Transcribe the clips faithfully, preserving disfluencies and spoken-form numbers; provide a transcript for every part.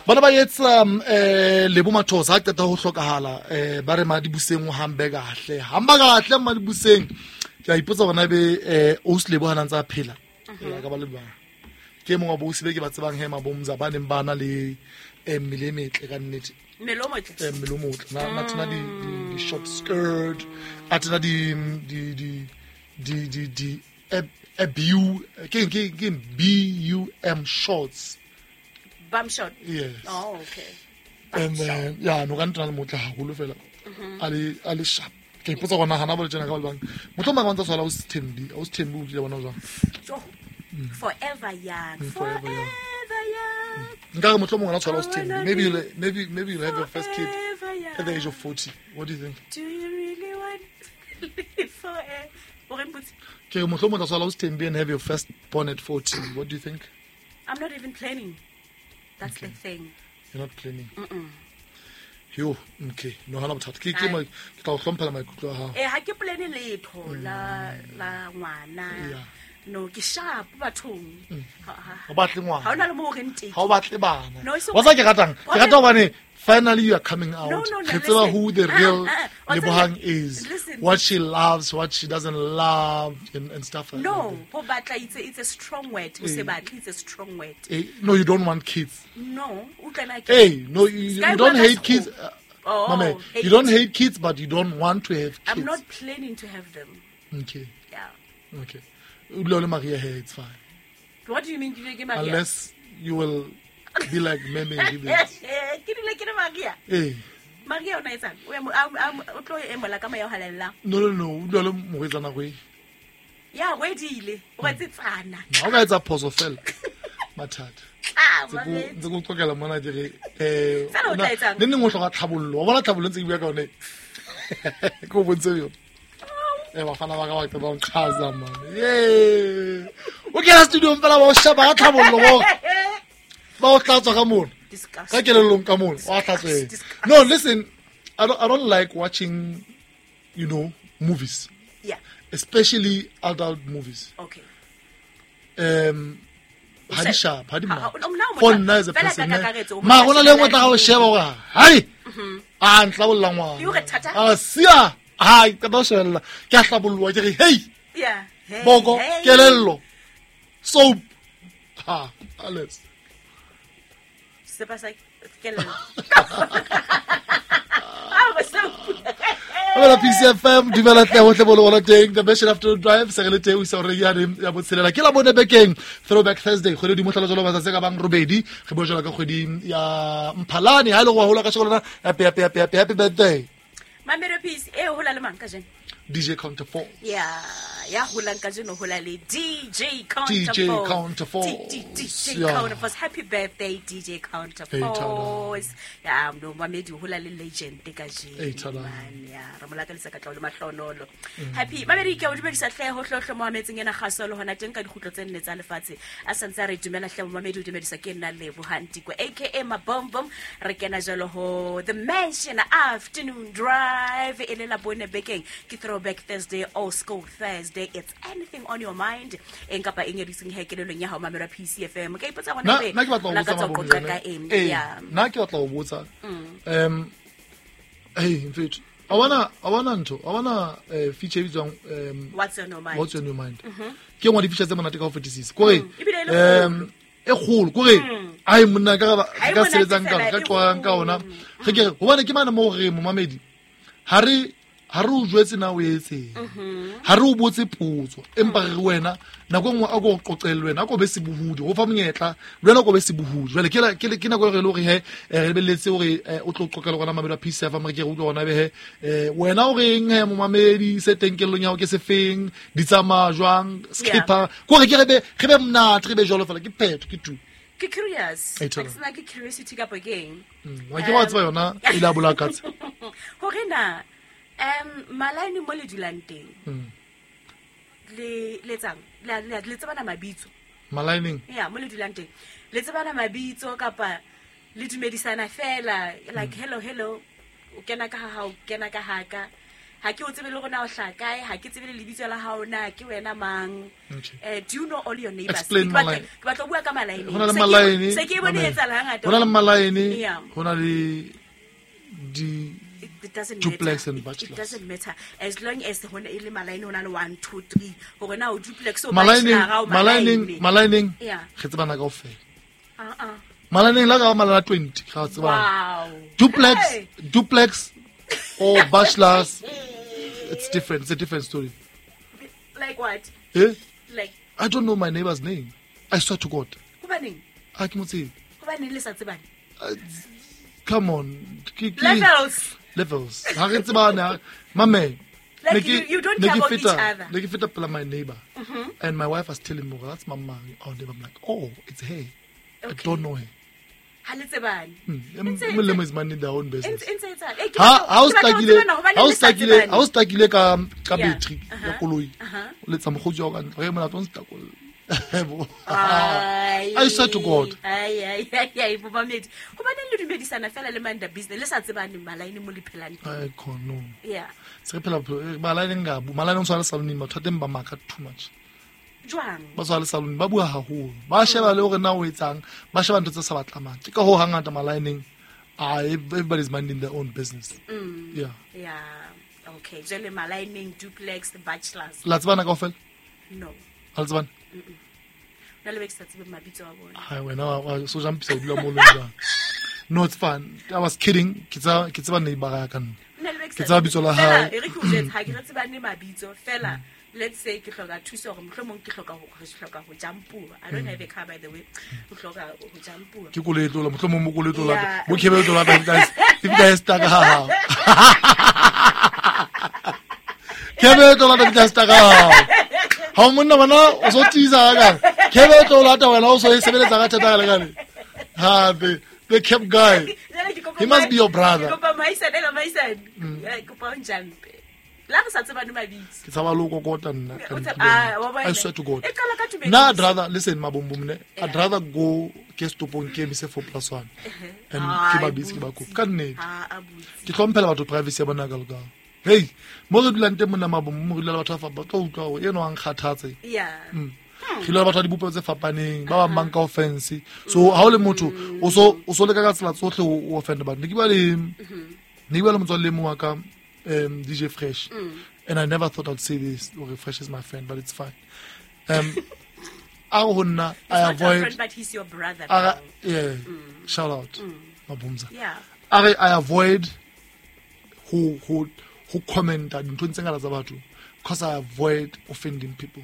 Bana ba etsa eh Lebo Mathosa ha qeta ho hlokahala eh ba re Madibuseng o hambe kahle. Hamba kahle Madibuseng. Ke a ipotsa hore na ebe eh Ausi Lebo ha ntse a phela. Ya ka ba le bang. Ke mongwe wa boausi be ke ba tsebang he mabomza ba neng ba na le eh mmele e metle ka nnete. Mmele o motle. Eh mmele o motle. Na na tena di di short skirt, a tena di di di di di di a B U ke ke ke B U M shorts. Bum short. Yes. Oh, okay. And then yeah, no ka ntena le motle haholo fela. A le a le sharp. Ke ipotsa gore nagana ba le tsena ka ba bang. Mohlomong ba ntse tshwala o Thembi, o Thembi o tlile bona jwang. Forever young. Forever young. Forever young. Nka re mohlomong ona tshwala o Thembi. Maybe you'll, maybe maybe you'll have your first kid at the age of forty. What do you think? Do you really want to live forever? Ke re mohlomong o tla tshwala o Thembi and have your first born at forty. What do you think? I'm not even planning. That's okay. The thing. You're not planning. Mm-mm. Yo, okay. No hana bothata. Ke ke ke tla o hlomphela maikutlo a hao. Eh ha ke plane letho la la ngwana. No ke sharp bathong. Ha batle ngwana. Ha ona le mo re nteng. Ha o batle bana. Wa tsa ke ratang. Ke rata hobane finally you are coming out. No, no, no, Re tseba who the real ah, ah, Lebohang is. Listen. What she loves, what she doesn't love and, and stuff like no, that. No, ho batla it's a, it's a strong word. O se batle it's a strong word. Eh, no, you don't want kids. No, o tla ke. Hey, no, you, you don't hate kids. Uh, oh, Mame, hate. You don't hate kids, but you don't want to have kids. I'm not planning to have them. Okay. Yeah. Okay. Maria here, it's fine. What do you mean, Maria? Unless you will be like Meme. Ke dule ke le Maria. Eh. Maria o na etsang? O tlo emola ka moya o halalelang. No no no, o dula le morwetsana go e. Ya wedile, o retsetsana. Ha o ka etsa phoso fela. Mathata. Ah, ntse go tlokela mona ke re eh Sala o tla etsang? Ne neng o hloka tlhabollo. Wa bona tlhabollo ntse ke bua ka yone. Ke o bontshe yone. Eh bafana ba ka ba ba nqhaza man. Yey. O kena studio fela ba o shaba ka tlhabollo bo. Ba o tlatswa ka mona. Ka kelellong ka mona. Wa tlatswe. No, listen, I don't I don't like watching, you know, movies. Yeah. Especially adult movies. Okay. Um ha di sharp, ha di ma. For nna as a person. Ma gona le nngwe tla ga o sheba gore hai. A ntlabolla ngwana. A sia. Hai, ka ba shebella. Ke a hlabolloa ke re hey. Yeah. Boko kelello. Soap. Ha, alles. Se pasa kelello. Ah, ba soap. Well, P C F M dumela tle hohle bo le bona teng the best afternoon drive se re le teng o isa hore ya ya botshelela ke la bone bekeng Throwback Thursday kgwedi di mohlala jalo matsatsi ka bang robedi re bua jalo ka kgwedi ya Mphalane ha ile go hola ka shego lona happy happy happy happy happy birthday Mamelo Peace e hola le mang ka jeno D J Counter four. Yeah, ya holang ka jeno hola le D J Counter D J four. Counter four. D J Counter four. Happy birthday D J Counter four. Ya no mamedi hola le legend ka jeno. Man ya re molakalisa ka tla le mahlonolo. Happy mamedi ke o dumedisa hle ho hlohlo mo ametseng ena kgaso le hona teng ka dikgutlo tse nne tsa lefatshe. A santse a re dumela hle mamedi o dumedisa ke nna Lebohang Tiko aka Mabombom re kena jalo ho The Mansion Afternoon Drive e le la bone bekeng ke Throwback Thursday, Old School Thursday. It's anything on your mind. Eng kapa eng e dutseng he kelelong ya hao mamela P C F M. Ke ipotsa gona be. Nna ke batla ho botsa mabone. Ka eng? Yeah. Nna ke batla ho botsa. Um hey, in fact, I wanna I wanna ntho. I wanna uh, feature e bitswang um What's on your mind? What's on your mind? Mhm. Ke ngwa di feature tse monate ka ho fetisisa. Kore um e kgolo kore ai monna ka ba ka sebetsang ka ka qoang ka ona. Re ke hobane ke mane mo re momamedi. Ha re ha re o jwetse na o etseng ha re o botse potso empa re wena nako nngwe a go qoqele wena a ko be sebohudi go fa monyetla le wena ko be sebohudi jwale ke ke ke nako e re le hore he re lebelletse hore o tlo qoqela gona mamedi wa P C F M re ke re utlwe gona be he wena o reng he momamedi se teng kellong ya hao ke sefeng di tsamaya jwang skipper kore ke re be re be monate re be jwalo fela ke phetho ke tu ke curious ke sena ke curiosity ka pokeng wa ke wa tseba yona e la bola katse hore na um malaini mo le dulang teng le le tsang le le tsebana mabitso malaining yeah mo le dulang teng le tsebana mabitso kapa le dumedisana fela like hello hello o kena ka ha o kena ka haka Ha ke o tsebe le hore na o hlaha kae, ha ke tsebe le lebitso la hao na ke wena mang. Okay. Eh, do you know all your neighbors? Explain Ke batla malaene. ke batla ho bua ka malaene. Ho na le Se ke- malaene. se ke bone Mamela. etsahala hangata. Ho na le malaene, Yeah. ho na le di It, it doesn't duplex matter. and It, it bachelors. doesn't matter as long as hona e le malaene, hona le one, two, three. Hore na o duplex o Malaeneng, bachelor, o malaeneng, malaene. malaeneng, Yeah. re tsebana kaofela. Uh-uh. Malaeneng la ka ba malala twenty, ga tsebana. Wow. Duplex, Hey. duplex or bachelors, it's different. It's a different story. Like what? Eh? Like I don't know my neighbor's name. I swear to God. Hobaneng? Ha ke mo tsebe. Hobaneng le sa tsebane? Uh, come on. Ke- ke- Levels. Levels. Ha re tsebane, ha- mame. Like ne ke- you, you don't ne care ke about each feta- other. ne ke feta pela my neighbor. Mm-hmm. And my wife was telling me, that's my mom. Our neighbor. I'm like, oh, it's her. I Okay. don't know her. Ha le tsebane. Mm. Ntse- E mong le mong is minding their own business. Ntse- ntse etsahala. Eh, ke Ha batla- ha o ke batla ho stakile, tsebana hobane ha o le sa stakile, tsebane. ha o stakile ka ka Yeah. battery ya Uh-huh. koloi. Uh-huh. O letsa mokgotsi wa ka ntle, re molato o nstakolla. Ai, I swear to God. ai, ai, ai, ai, bomamedi. Hobaneng le dumedisana fela le mind the business le sa tsebane malaene mo le phelang teng? Ai, khona, no. Yeah. Se re phela bophelo, eh, malaene nka bu, malaene o tshwana le saloneng, batho ba teng ba maka too much. Jwang? Ba tshwana le saloneng, ba bua haholo. Ba sheba le hore na o etsang, ba sheba ntho tse sa ba tlamang. Ke ka hoo hangata malaeneng, ah, everybody's minding their own business. Mm. Yeah. Yeah. Okay. Jwale malaeneng, duplex, the bachelors. La tsebana kaofela? No. Ha le tsebane? Mm-mm. Nna le be ke sa tsebe mabitso a bona. Hai, wena wa, wa, so jampisa o dula mo leng jwang? No, it's fine. I was kidding. Ke tseba, ke tseba neighbor ya ka nna. Nna le be ke Ke sa tseba bitso la Fela, hae. e re ke o jwetse, ha ke re tsebane mabitso, fela, let's say ke hloka thuso hore mohlomong ke hloka ho, re hloka ho jampuwa. I don't have a car, by the way. Ho hloka ho jampuwa. Ke koloi e tlo la, mohlomong mo koloi e tlo lata. Yeah. Bo khebe e tlo lata, guys. If guys stuck ha hao. Khebe e tlo lata, if guys stuck ha hao. Ha o monna bana, o so tiisa ka. Khebe e tlo lata wena, o so e sebeletsa ka thata ka lekane. Ha, the, the cab guy. Jwale ke kopa He must be your brother. Ke kopa mohaisane, ela mohaisane. Eh, ke kopa o njampe. La re sa tsebane mabitso. Ke tshaba le ho kokota nna ka O ntlo tsaba- ena. ah, wa bona. I swear to God. E qala ka tumediso. Nna, I'd rather, listen, Mabombom, ne, I'd Yeah. rather go ke stopong ke emise four plus one. And Ai, ke ba bitse, ke ba kope. Ka nnete. Ah, a butse. Ke hlomphela batho privacy ya bona ka lokang. Hey, mo re dulang teng mona Mabombom, mo re dula le batho ba fa-, ba tlo utlwa hore eno wa nkgathatse. Yeah. Mm. Re dula le batho ba dibopeho tse fapaneng, ba bang ba nka offense. So ha o le motho, o so, o so leka ka tsela tsohle ho, ho offend batho. Ne ke bua le, ne ke bua le motswalle e mong wa ka, um, D J Fresh. Mm. And I never thought I'd say this, okay, Fresh is my friend, but it's fine. Um, a re ho nna, He's I not your avoid friend, but he's your brother A re, now. yeah, Mm. shout out. Mm. Mabumza. Yeah. A re, I avoid ho, ho, ho commenta dinthong tse ngata tsa batho because I avoid offending people.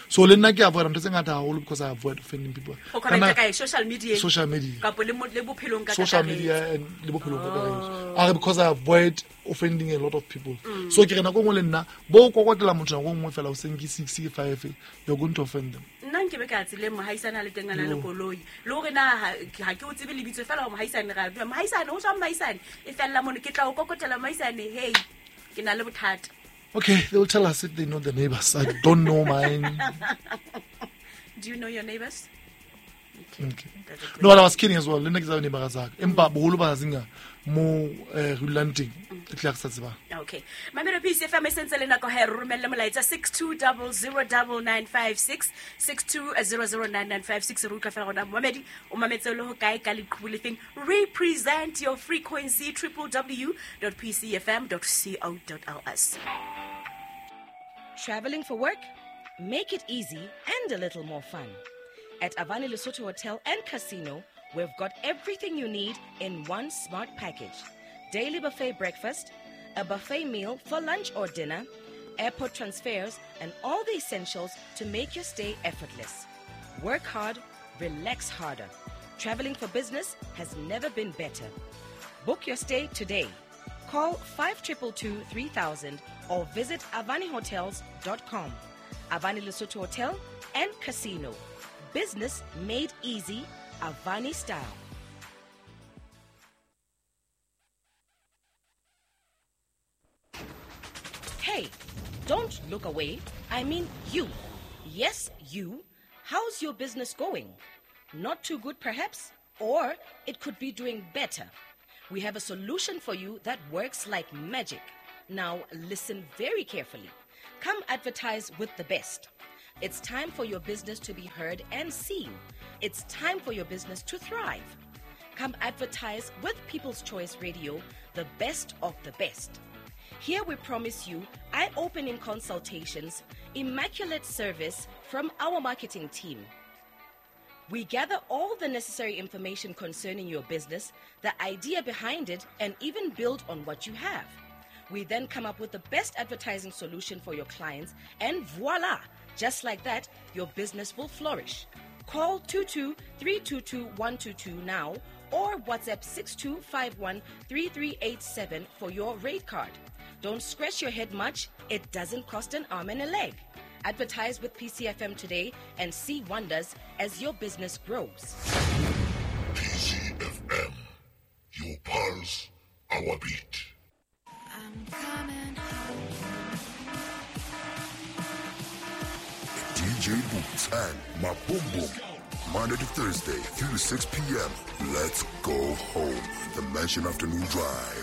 So le nna ke avoid ntho tse ngata haholo because I avoid offending people. Ho commenta Kana kae? Social media? Social media. Kapo le mo-, le bophelong ka Social kakaretso. media and le bophelong ka kakaretso. Oh. A re because I avoid offending a lot of people. Mm. So ke re nako e nngwe le nna, bo kokotela motho nako e nngwe fela o seng ke six, ke five, you're going to offend them. Nna nke be ka tseleng mohaisane a le teng a na le Yo. koloi. Le hore na ha, ha ke o tsebe lebitso fela hore mohaisane ra bua. Mohaisane, ho jwang mohaisane? E fella mono, ke tla o kokotela mohaisane, hey, ke na le bothata. Okay, they will tell us if they know the neighbors. I don't know mine. Do you know your neighbors? Okay. Okay. That's a good No, but I was kidding as well. Le nna ke tseba neighbor tsa ka. Empa boholo ba zinga mo, eh, re dulang teng, e tla re sa tsebang. Okay. Mamelo P C F M e sentse le nako ha e re romelle molaetsa six two double zero double nine five six, six two zero zero nine nine five six. Re utlwa fela gona momamedi, o mametse le ho kae ka leqhubu le feng? Represent your frequency, triple W dot P C F M dot C O dot L S. Traveling for work? Make it easy and a little more fun. At Avani Lesotho Hotel and Casino, we've got everything you need in one smart package. Daily buffet breakfast, a buffet meal for lunch or dinner, airport transfers, and all the essentials to make your stay effortless. Work hard, relax harder. Traveling for business has never been better. Book your stay today. Call five triple two three thousand or visit avani hotels dot com. Avani Lesotho Hotel and Casino. Business made easy, Avani style. Hey, don't look away. I mean you. Yes, you. How's your business going? Not too good, perhaps? Or it could be doing better. We have a solution for you that works like magic. Now listen very carefully. Come advertise with the best. It's time for your business to be heard and seen. It's time for your business to thrive. Come advertise with People's Choice Radio, the best of the best. Here we promise you eye-opening consultations, immaculate service from our marketing team. We gather all the necessary information concerning your business, the idea behind it, and even build on what you have. We then come up with the best advertising solution for your clients, and voila! Just like that, your business will flourish. Call two two three two two one two two now or WhatsApp six two five one three three eight seven for your rate card. Don't scratch your head much. It doesn't cost an arm and a leg. Advertise with P C F M today and see wonders as your business grows. P C F M, your pulse, our beat. I'm coming home. D J Boots and Maboom Boom. Monday to Thursday, three to six p.m. Let's go home. The Mansion Afternoon Drive.